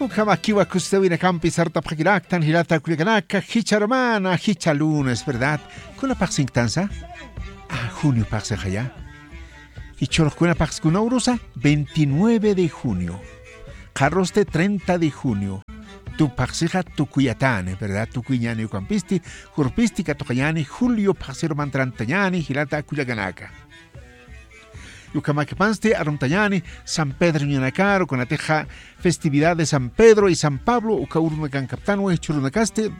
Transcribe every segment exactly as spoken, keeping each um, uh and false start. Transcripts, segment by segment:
Ukhamakiwa kusisawinakampi sartapxakiraktan jilata kullakanaka, jichha hermana, jichha lunes, ¿verdad? Kuna phaxsinktansa? A, junio phaxsixaya. Jichhürux kuna phaxsi, kuna urusa, veintinueve de junio. Qharüsti treinta de junio. Tup phaxsixa tukuyatani, ¿verdad? Tukuyñani ukampisti, jurpisti katuqañani, julio phaxsiru mantrantañani, jilata kullakanaka. Ukhamakipansti aruntañani San Pedro ñanakaru, kunatixa festividad de San Pedro y San Pablo, uka urunakankaptanwa, jichhürunakasti,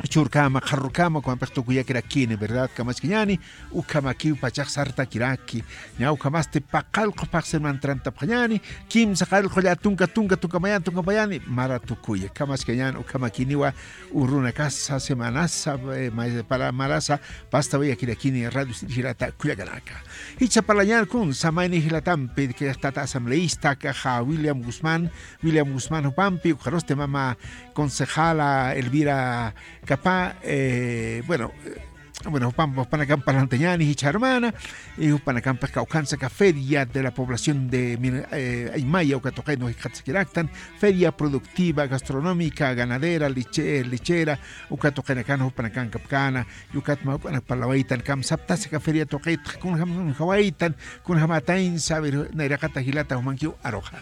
jichhürkama, qharürkama, ukampix tukuyakirakini, ¿verdad? Kamaskiñani, ukhamakiw pachax sartakiraki. Ña ukhamasti paqallqu phaxsir mantrantapxañani, kimsa qallqu llätunka tunka tunkamayani tunkamayani, mara tukuya. Kamaskiñani, ukhamakiniwa, urunakasa, semanasa, eh, ma-, para marasa, pastawayakirakini radio jilata kullakanaka. Jichha parlañar kun samayni jilatampi, que tata asambleísta, kaxa William Guzmán, William Guzmán jupampi, ukarusti mama concejala Elvira Capá, eh, bueno, eh, bueno, jupam-, jupanakamp parlantañani, jichha hermana, y jupanakampix kawkhansa aka feria de la población de Mir-, eh, Aymaya, uka tuqin jikxatasakiraktan, feria productiva, gastronómica, ganadera, leche-, lechera, uka tuqinakan jupanakan kapkana, y ukat mä jupanak parlawaytan, kamsaptasa aka feria tuqit, kunjam, kunjawaytan, kunjamataynsa, a ver, nayraqata jilata jumankiw aruxa.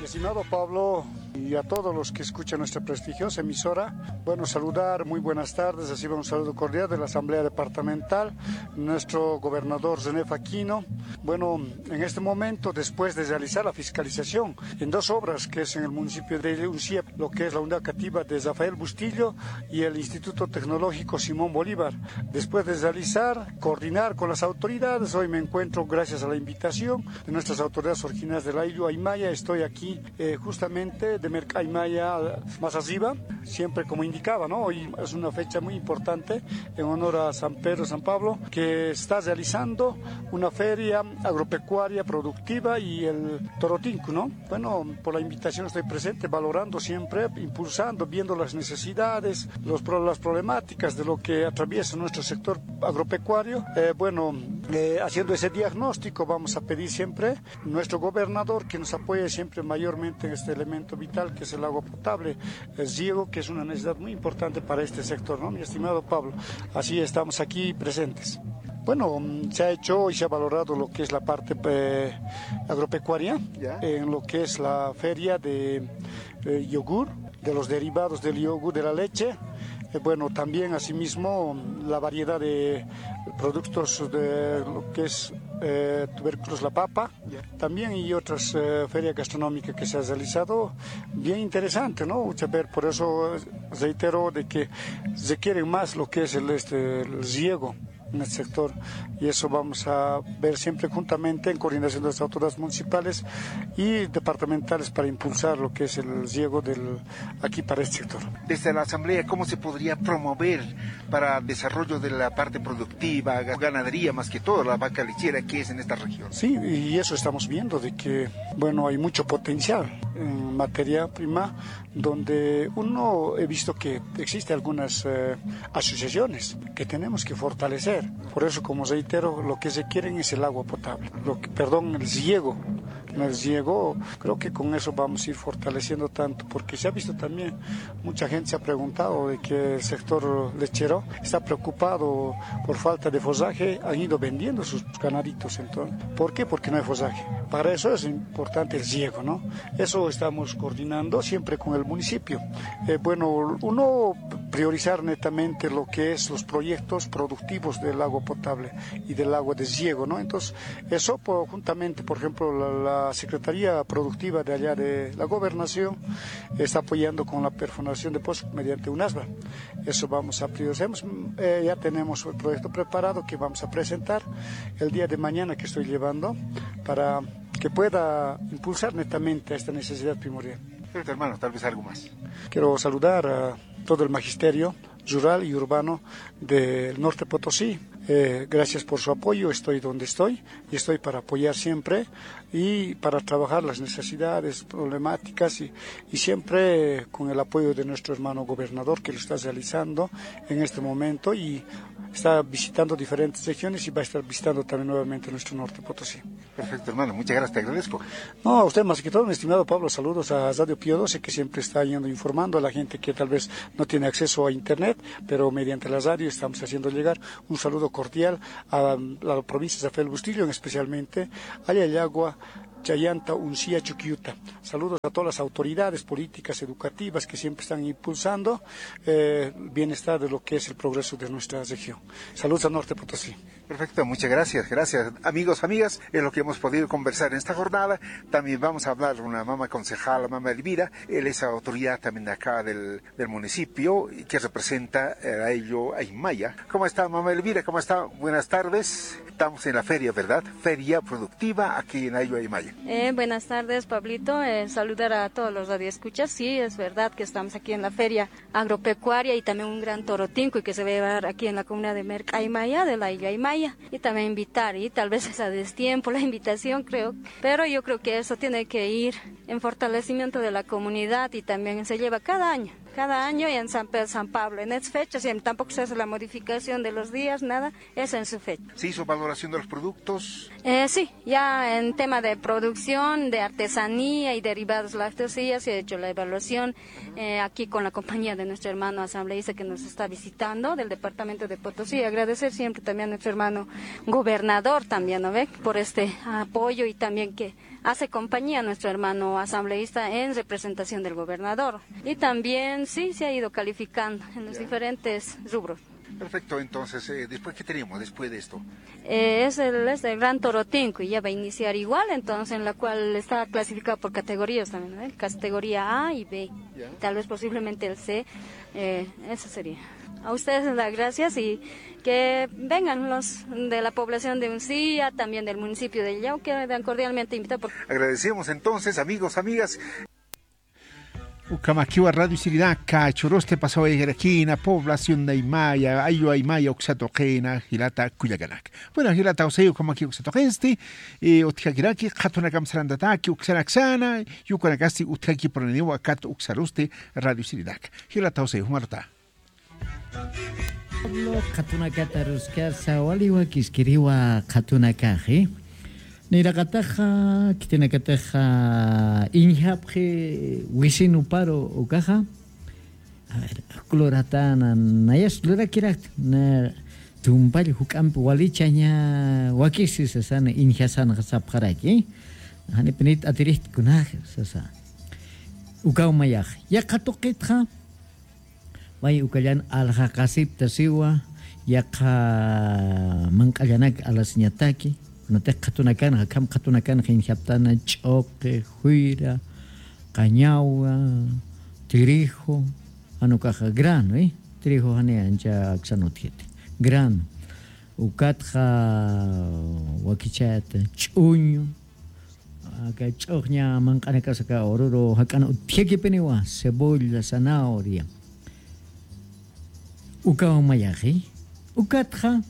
Estimado Pablo, y a todos los que escuchan nuestra prestigiosa emisora, bueno, saludar, muy buenas tardes, reciban un saludo cordial de la Asamblea Departamental, nuestro gobernador René Faquino. Bueno, en este momento, después de realizar la fiscalización en dos obras, que es en el municipio de Unciep, lo que es la unidad cativa de Rafael Bustillo y el Instituto Tecnológico Simón Bolívar, después de realizar, coordinar con las autoridades, hoy me encuentro, gracias a la invitación de nuestras autoridades originarias del Ayllu Aymaya, estoy aquí, eh, justamente de Merc Aymaya más arriba, siempre como indicaba, ¿no? Hoy es una fecha muy importante en honor a San Pedro, San Pablo, que está realizando una feria agropecuaria productiva y el Torotincu, ¿no? Bueno, por la invitación estoy presente, valorando siempre, impulsando, viendo las necesidades, los pro-, las problemáticas de lo que atraviesa nuestro sector agropecuario. Eh, bueno, eh, haciendo ese diagnóstico, vamos a pedir siempre nuestro gobernador que nos apoye siempre mayormente en este elemento vital que es el agua potable, el riego, que es una necesidad muy importante para este sector, ¿no, mi estimado Pablo? Así estamos aquí presentes. Bueno, mm, se ha hecho y se ha valorado lo que es la parte, eh, agropecuaria, ya, en lo que es la feria de, eh, yogur, de los derivados del yogur, de la leche. Eh, bueno, también asimismo la variedad de productos de lo que es, eh, tubérculos, la papa. Ya. También y otras, eh, ferias gastronómicas que se ha realizado. Bien interesante, ¿no? Mucha ver, por eso reitero de que requieren más lo que es el, este, el riego en el sector, y eso vamos a ver siempre juntamente en coordinación de las autoridades municipales y departamentales para impulsar lo que es el riego del, aquí para este sector. Desde la Asamblea, ¿cómo se podría promover para desarrollo de la parte productiva, ga-, ganadería, más que todo la vaca lechera que es en esta región? Sí, y eso estamos viendo, de que, bueno, hay mucho potencial en materia prima, donde uno, he visto que existe algunas, eh, asociaciones que tenemos que fortalecer. Por eso, como reitero, lo que se quieren es el agua potable, lo que, perdón, el riego. El riego, creo que con eso vamos a ir fortaleciendo tanto, porque se ha visto también, mucha gente se ha preguntado de que el sector lechero está preocupado por falta de forraje, han ido vendiendo sus ganaditos, entonces, ¿por qué? Porque no hay forraje. Para eso es importante el riego, ¿no? Eso estamos coordinando siempre con el municipio. Eh, bueno, uno, priorizar netamente lo que es los proyectos productivos del agua potable y del agua de riego, ¿no? Entonces, eso po-, juntamente, por ejemplo, la, la Secretaría Productiva de allá de la Gobernación está apoyando con la perforación de pozos mediante un asba. Eso vamos a priorizar. Hemos, eh, ya tenemos el proyecto preparado que vamos a presentar el día de mañana, que estoy llevando para que pueda impulsar netamente esta necesidad primordial. Perfecto, hermano, tal vez algo más. Quiero saludar a todo el magisterio rural y urbano del Norte Potosí. Eh, gracias por su apoyo, estoy donde estoy y estoy para apoyar siempre y para trabajar las necesidades, problemáticas y, y siempre con el apoyo de nuestro hermano gobernador, que lo está realizando en este momento y Está visitando diferentes regiones y va a estar visitando también nuevamente nuestro norte Potosí. Perfecto, hermano, muchas gracias, te agradezco. No, a usted más que todo, mi estimado Pablo, saludos a Radio Pío doce, que siempre está yendo informando a la gente que tal vez no tiene acceso a internet, pero mediante la radio estamos haciendo llegar un saludo cordial a la provincia de Rafael Bustillo, especialmente a Yayagua, Chayanta, Uncía, Chuquiuta. Saludos a todas las autoridades políticas, educativas que siempre están impulsando eh, el bienestar de lo que es el progreso de nuestra región. Saludos a Norte Potosí. Perfecto, muchas gracias, gracias. Amigos, amigas, es lo que hemos podido conversar en esta jornada. También vamos a hablar una mama concejala, mama Elvira. Él es autoridad también de acá del, del municipio y que representa eh, a ello Aymaya. ¿Cómo está, mama Elvira? ¿Cómo está? Buenas tardes. Estamos en la feria, ¿verdad? Feria productiva aquí en Ayllu Aymaya. Eh, buenas tardes, Pablito. Eh, saludar a todos los radioescuchas. Sí, es verdad que estamos aquí en la feria agropecuaria y también un gran toro tinco y que se va a llevar aquí en la comunidad de Mercaimaya, de la Isla Aymaya. Y también invitar, y tal vez es a destiempo la invitación, creo, pero yo creo que eso tiene que ir en fortalecimiento de la comunidad y también se lleva cada año. Cada año y en San Pedro, San Pablo, en esta fecha, siempre, tampoco se hace la modificación de los días, nada, es en su fecha. ¿Se hizo valoración de los productos? Eh, sí, ya en tema de producción, de artesanía y derivados lácteos, sí, ya se ha hecho la evaluación eh, aquí con la compañía de nuestro hermano asambleísta que nos está visitando del departamento de Potosí. Agradecer siempre también a nuestro hermano gobernador también, ¿no ve? Por este apoyo y también que hace compañía a nuestro hermano asambleísta en representación del gobernador. Y también sí se ha ido calificando en los diferentes rubros. Perfecto, entonces, eh, ¿después qué tenemos después de esto? Eh, es el, es el Gran Toro Tinco y ya va a iniciar igual, entonces en la cual está clasificado por categorías también, ¿no? Categoría A y B, tal vez posiblemente el C. Eh, eso sería. A ustedes las gracias y que vengan los de la población de Uncía, también del municipio de Yau, quedan cordialmente invitados. Agradecemos entonces, amigos, amigas. Ukhamakiwa Radio Siridaka, Choroste pasawayakina, población de Aymaya, Ayllu Aymaya, uksatuqina, jilata kullakanaka. Bueno, jilata José, ukhamakiwa uksatuqinsti, y utjakiraki, qhatunakam sarantataki, uksanaksana, y ukanakasti utjaki puraniwa, kat uksarusti Radio Siridaka. Jilata José, jumarta. Pablo, qhatunakata ruskasa, waliwa kiskiriwa qhatunakaxi. Niraqataxa, khitinakataxa, iñjapxi wisin uparu ukaxa. A ver, uk luratana, nayas lurakirakta, na tumpall juk'ampi walichaña wakisi sasana, iñjasanxa sapxaraki. Janipinit atirixta kunaxa sasa. Ukaw mayax. Yaqha tuqitxa, may ukallan aljaqasipta siwa, yaqha manq'allanak alasiñataki, kunatix qhatunakanxa, akham qhatunakanxa iñjaptana ch'uqi, juyra, qañawa, tirijo, jan ukaxa grano, ¿eh? Tirijo jani ancha aksan utjiti. Grano. Ukatxa wakichayata ch'uñu, aka ch'uxña manq'anakas aka ururu jak'ana utjakipiniwa, cebolla, zanahoria. Ukaw mayaxi, ukatxa,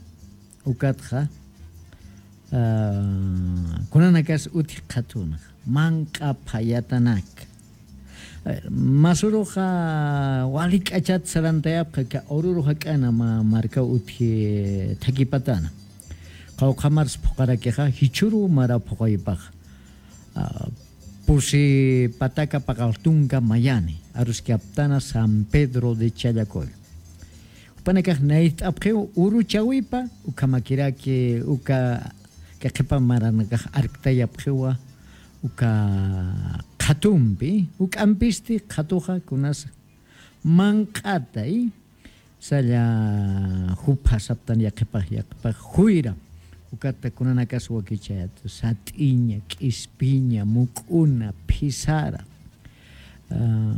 ukatxa, ah, kunanakas utji qhatunxa, manq'a phayatanak. A ver, masuruxa wali k'achat sarantayapxa, ka ururu jak'ana ma-, markaw utji thakipatana. Qawqha mars phuqarakixa, jichhüru mara phuqaypax. Ah, pusi pataka paqalltunka mayani, aruskaptana San Pedro de Challacoyo. Jupanakax nayt'apxiw uruchawipa, ukhamakiraki, uka, ka qhipa maranakax arktayapxiwa, uka qhatumpi, juk'ampisti qhatuxa kunasa manq'atay, salla jupha saptan yaqhipax, yaqhipax juyra, ukata kunanakas wakichayat, sat'iña, k'ispiña, muk'una, phisara, ah,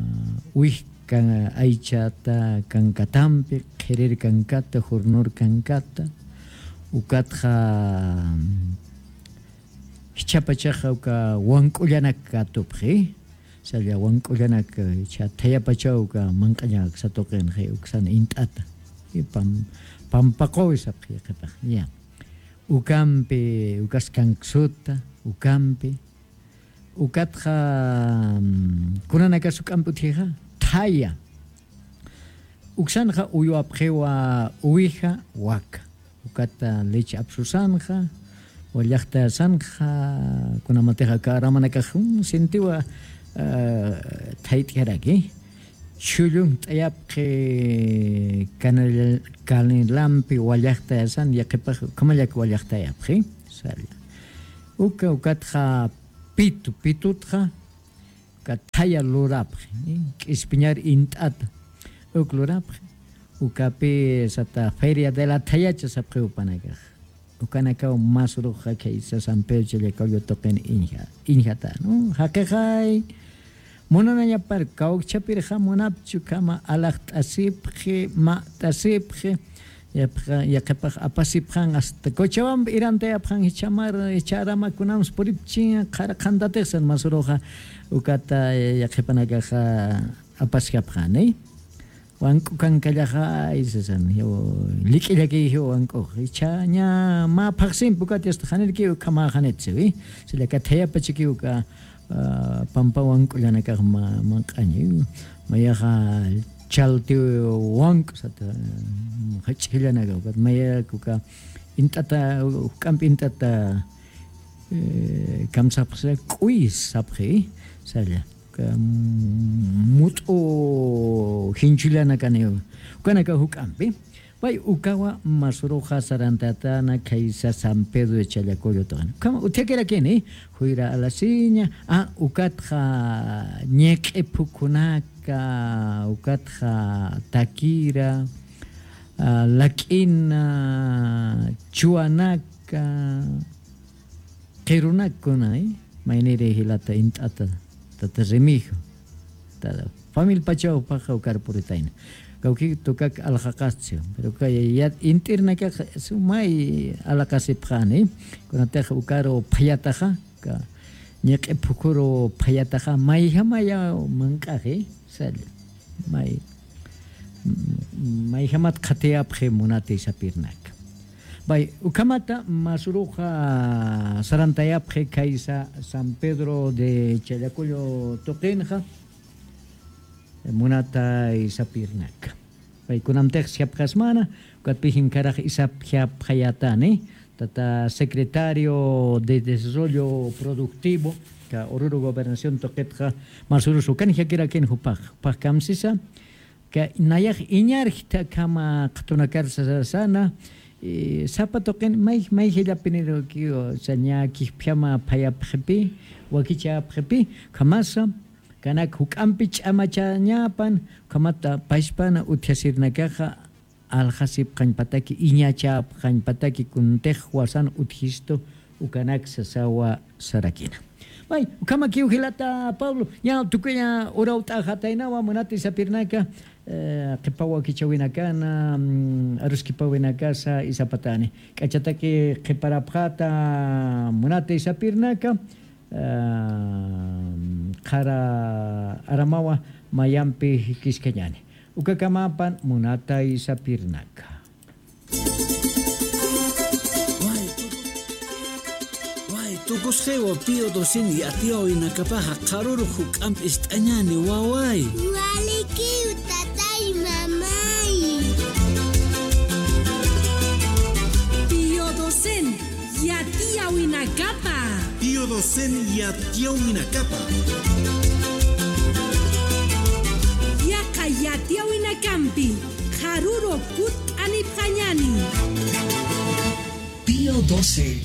wik ka-, aychata kankatampi, qhirir kankata, jurnur kankata, ukatxa, jichhapachaxa uka wank'ullanak katupxi, salla wank'ullanak, eh, jichha thayapachaw uka manq'aña aksa tuqinxi, uksan int'ata. Y pam-, pampaqowi sapxi yaqhipax, ya. Ukampi, ukas kanksuta, ukampi. Ukatxa, mm, kunanakas juk'ampi utjixa, thaya. Uksanxa uywapxiwa uwija waka. Ukata leche apsusanxa, wallaxtayasanxa, kunamatixa aka aramanakax, mm, sintiwa, ah, thayt'iraki. Chhullunt'ayapxi canel-, canelampi wallaxtayasan, yaqhipax ukhamallak wallaxtayapxi, salla. Uka, ukatxa pitu, pitutxa, uka thaya lurapxi, k'ispiñar int'ata, uk lurapxi, ukapi sata feria de la thayacha sapxiw jupanakax. Ukanakaw mä suruxa khaysa San Pedro Challacollo tuqin iñja-, iñjata, ¿no? Jaqixay, munanañapar kawkchapirxa munapchi ukhama alaxt'asipxi, ma't'asipxi, yaqhipax, yaqhipax apasipxan hasta Cochabamba irantayapxan jichhamar, jichha arama kunams puripchi, qhara qhantatix san mä suruxa ukata, eh, yaqhipanakaxa apaskapxani. Wank'u kankallaxa, ay, sasan, jiw, lik'illaki jiw wank'ux. Jichhaña mä phaxsimpi ukat yasta janirki ukhamäxanit siwi. Sillaka thayapachikiw uka, ah, pampa wank'ullanakax ma-, manq'añiw. Mayaxa chalti wank'u sata, jach'illanaka ukat. Mayak uka int'ata, juk'ampi int'ata, eh, kamsapxsa, k'uy sapxi, salla. Ka, mm, mut'u jinchullanakaniw. Ukanaka juk'ampi. Pay ukawa mä suruxa sarantatana khaysa San Pedro de Challacollo tuqin. Ukhama utjakirakini, juyra alasiña, ah, ukatxa ñiq'i phukhunaka, ukatxa takira, ah, lak'ina, chuwanaka, qhirunak kuna, eh, mayniri jilata int'ata, tata Remigio, ta famil pachaw paxa ukar puritayna. Kawki tukak alxaqaschi, pero kay yat int'irnakax sumay alaqasipxani, kunatix ukaru phayataxa, ka ñiq'i phukhuru phayataxa, mayjamaya manq'axi, salla. May, mayjamat qhatiyapxi munati sapirnaka. Bay, ukhamata mä suruxa sarantayapxi khaysa San Pedro de Challacollo tuqinxa, munatay sapirnaka. Bay, kunamtix sapxasmana, ukatpï jinkarax isapxapxayatani, tata secretario de Desarrollo Productivo, ka Oruro Gobernación tuqitxa, mä surus ukan jakirakin jupax, jupax kamsisa, ka nayax iñarjta akhama qhatunakar sasana, eh, sapa tuqin may, may jillapiniruki, o sea, ña kijpjama phayapxipi, wakichapxipi, ukhamasa, kanak juk'ampi ch'amachañapan, ukhamata pachpana utjasirnakaxa, aljasipxañpataki, iñachapxañpataki, kuntix wasan utjistu, ukanak sasawa sarakina. May, ukhamakiw jilata Pablo, ña tukuya urawt'axataynawa munati sapirnaka, eh, qhipa wakichawinakana, mm, aruskipawinakasa isapatani. K'achataki qhiparapxata munati sapirnaka, eh, qhara aramawa mayampi jikiskañani. Ukakamapan munatay sapirnaka. Way, tukusxiwa Pío doce yatiyawinakapa jaqaruru juk'amp ist'añani, waway. Walikiw, tatay, mamay. Pío doce yatiyawinakapa. Pío doce yatiyawinakapa. Yaqha yatiyawinakampi qharuru kutt'anipxañani. Pío doce